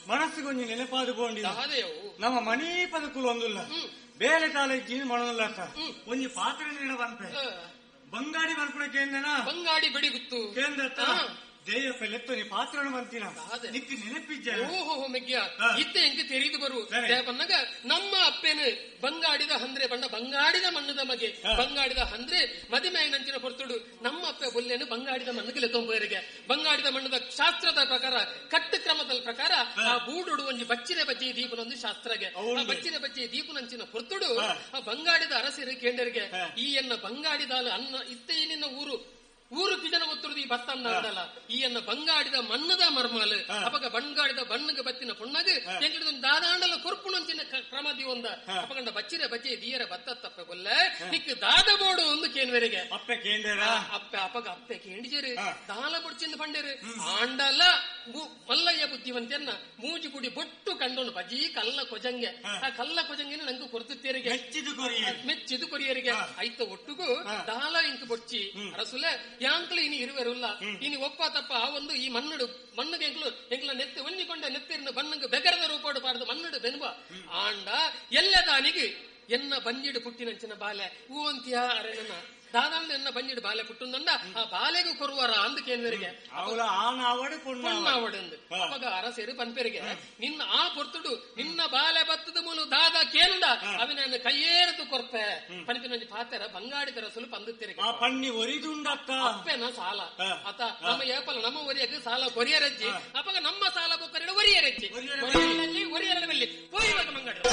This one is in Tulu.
ಮನಸ್ಸಿಗೊಂಜಿ ನೆನಪಾದ ಬೋಂಡಿ ನಮ್ಮ ಮಣಿ ಪದಕುಲು ಒಂದುಲ್ಲ ಬೇಲೆ ತಾಲೆ ಮಣಲ್ಲ ಒಂಜಿ ಪಾತ್ರ ನೀಡ ಬಂತೆ ಬಂಗಾಡಿ ಬರ್ಪುಣ ಕೇಂದ್ರನ ಬಂಗಾಡಿ ಬಿಡಿ ಗುತ್ತು ಕೇಂದ್ರ ದೇಯ ಪೆಲೆತ್ತು ನೀ ಪಾತ್ರನು ಬಂತೀನ ನಿಕ್ ನೆನಪಿಜ್ಜ ಓಹೋ ಮೆಗ್ಯ ಇತ್ತ ಎಂಕ್ ತೆರಿದು ಬರು ಬಂದಾಗ ನಮ್ಮ ಅಪ್ಪೇನು ಬಂಗಾಡಿದ ಹಂದ್ರೆ ಬಣ್ಣ ಬಂಗಾಡಿದ ಮಣ್ಣದ ಮಗೆ ಬಂಗಾಡಿದ ಹಂದ್ರೆ ಮದಿಮೆ ನಂಚಿನ ಹೊರತುಡು ನಮ್ಮ ಅಪ್ಪೆ ಬೊಲ್ಲೇನು ಬಂಗಾಡಿದ ಮಣ್ಣಿಗೆ ಲೆತ್ತೊಂಬರಿಗೆ ಬಂಗಾಡಿದ ಮಣ್ಣದ ಶಾಸ್ತ್ರದ ಪ್ರಕಾರ ಕಟ್ಟು ಕ್ರಮದ ಪ್ರಕಾರ ಆ ಬೂಡುಡು ಒಂಜಿ ಬಚ್ಚಿನ ಬಜ್ಜಿ ದೀಪನೊಂದು ಶಾಸ್ತ್ರಗೆ ಆ ಬಚ್ಚಿನ ಬಜ್ಜಿ ದೀಪನಂಚಿನ ಹೊರತುಡು ಆ ಬಂಗಾಡಿದ ಅರಸಿರು ಕೇಂಡರಿಗೆ ಈ ಎನ್ನ ಬಂಗಾಡಿದ ಅನ್ನ ಇತ್ತ ನಿನ್ನ ಊರು ಊರು ಕಿಜನ ಗೊತ್ತಿರುದು ಈ ಭತ್ತ ಅಂದಲ್ಲ ಈ ಎನ್ನ ಬಂಗಾಡಿದ ಮಣ್ಣದ ಮರ್ಮಾಲ್ ಅಪಗ ಬಂಗಾಡಿದ ಬಣ್ಣಗ ಬತ್ತಿನ ಪೊಣ್ಣಗ ಎಂಕಡಿದ ದಾದಾಂಡಲ ಕೊರ್ಪುಣಂಚಿನ ಕ್ರಮ ದಿವೊಂದ ಅಪಗಂಡ ಬಚ್ಚಿರ ಬಜ್ಜೆ ದಿಯರ ಬತ್ತ ತಪ್ಪೆ ಕೊಲ್ಲ ನಿಕ್ ದಾದ ಬೋಡು ಒಂದು ಕೇನ್ವೆರಿಗೆ ಅಪ್ಪೆ ಕೇಂದ್ರ ಅಪ್ಪೆ ಅಪಗ ಅಪ್ಪೆ ಕೇಂಡಿಜರು ದಾಲ ಬೊಡ್ಚಿಂದ ಪಂಡೇರು ಆಂಡಲ ಮಲ್ಲಯ್ಯ ಬುದ್ಧಿವಂತೆಯನ್ನ ಮೂಜಿ ಗುಡಿ ಬೊಟ್ಟು ಕಂಡೋನು ಬಜೀ ಕಲ್ಲ ಕೊಜಂಗೆ ಆ ಕಲ್ಲ ಕೊಜಂಗೆನ ನಂಗೆ ಕೊರ್ದುತ್ತೇರಿಗೆ ಮೆಚ್ಚಿದು ಕೊರಿಯರಿಗೆ ಐತ ಒಟ್ಟುಗು ದಾಲ ಇಂಕ್ ಬೊಡ್ಚಿ ಅರಸುಲೆ ಯಾಂಕ್ಲು ಇನಿ ಇರುವೆರುಲ್ಲ ಇನಿ ಒಪ್ಪ ತಪ್ಪ ಆ ಒಂದು ಈ ಮಣ್ಣುಡು ಮಣ್ಣುಗೆ ಎಂಕ್ಲು ಎಂಕ್ಲ ನೆತ್ತಿ ಒಂಜಿಕೊಂಡ ನೆತ್ತಿರ್ನ ಬಣ್ಣಗೆ ಬೆಗರದ ರೂಪಾಡು ಪಾಡದು ಮಣ್ಣುಡು ಬೆನ್ಬ ಆಂಡ ಎಲ್ಲದಾನಿಗೆ ಎನ್ನ ಬಂಜಿಡು ಪುಟ್ಟಿನಂಚಿನ ಬಾಲೆ ಹೂವಂತಿಯ ಅರೆನ ದಾದಾಂಡ ಎನ್ನ ಬಂಜಿಡು ಬಾಲೆ ಪುಟ್ಟುಂದಂಡ ಆ ಬಾಲೆಗೂ ಕೊರುವರ ಅಂದ ಕೇನ್ವರಿಗೆ ಪೊಣ್ಣಾವಡು ಅವಾಗ ಅರಸೇರು ಪನ್ಪೆರಿಗೆ ನಿನ್ನ ಆ ಪೊರ್ತುಡು ನಿನ್ನ ಬಾಲೆ ಬತ್ತದ ಮೂಲು ದಾದ ಕೇಂದ ಅವಿನ ಕೈಯೇರದು ಕೊರ್ಪೆ ಪನ್ಪಿನಂಜಿ ಪಾತೆರ ಬಂಗಾಡಿದರ ಸುಲು ಪಂದುತ್ತಿರಿಗೆ ಪಣ್ಣಿ ಒರಿದುಂಡತ್ತ ಅಪ್ಪೆನ ಸಾಲ ಅತ ನಮ್ಮ ಏಪಲ ನಮ್ಮ ಒರಿಯಕ್ಕೆ ಸಾಲ ಕೊರಿಯರಜ್ಜಿ ಅಪ್ಪಗ ನಮ್ಮ ಸಾಲ ಬೊಕ್ಕರಿಡ ಒರಿಯರಜ್ಜಿ ಒರಿಯರ ಪೋಯಿವಾಗ ಮಂಗಾಡಿ.